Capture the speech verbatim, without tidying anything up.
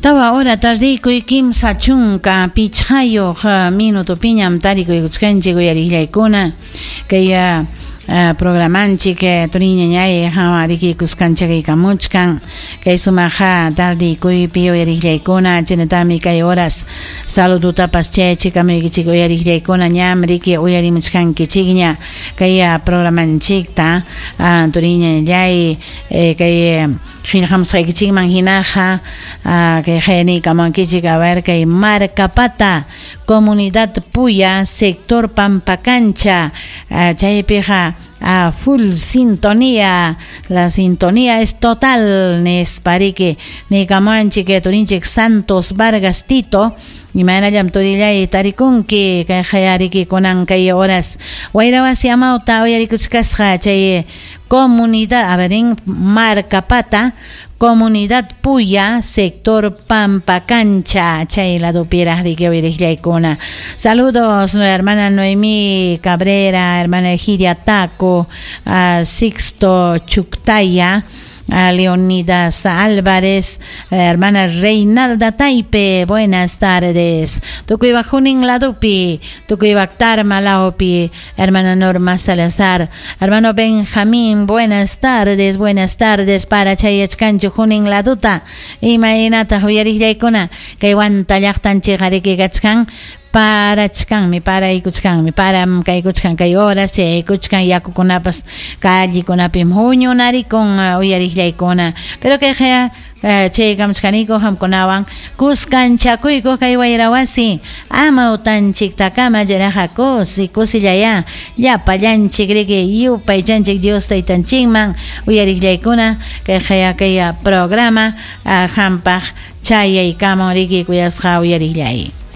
Tawa hora tardikuy kimsa chunka pichqayuq minutupiñam tarikuykuchkanchik uyariqllaykuna kay Uh, programanchik turiñañay hawariki kuskanchakaykamuchkan kay sumaqa tardikuypi uyariqllaykuna chaynatami kay horas saludutapas chayachikamaykichik uyariqllaykuna ñam riki uyarimuchkankichikña kay programanchikta uh, turiñañay eh, kay qillqamusqaykichikman hinaqa uh, kay qayaniykamunkichik a ver kay Marcapata Comunidad Puya sector Pampacancha uh, chaypiqa a full sintonía, la sintonía es total, nispariki nikamanchik turinchik Santos Vargas Tito imaynallam turillay tarikunki kay qayariki kunan kay horas wayrawasi amawta uyarikuchkasqa chay comunidad, a ver, en Marcapata, Comunidad Puya, sector Pampacancha, chay ladupiraq riki uyariqllaykuna. Saludos, hermana Noemí Cabrera, hermana Egidia Taco, a Sixto Chuctaya, a Leonidas Álvarez, hermana Reinalda Taipe, buenas tardes. Tukuy Junin Ladupi, tukuy Tarma Laopi, hermana Norma Salazar, hermano Benjamín, buenas tardes, buenas tardes para Chayachkanchu Junin Laduta, imaynataq uyariqllaykuna, kay Huanta llaqtanchik riki kachkan, parachkanmi, paraykuchkanmi, param kaykuchkan kay horas, chaykuchkan yakukunapas callekunapim huñunarikun uyariqllaykuna, pero kayqa chaykamuchkaniku qamkunawan kuskanchakuyku kay wayrawasi amawtanchiktakama chayraqa kusi kusillaya llapallanchik riki yupaychanchik Dios taytanchikman uyariqllaykuna kayqa kay programa qampaq chayaykamun riki kuyasqa uyariqllay.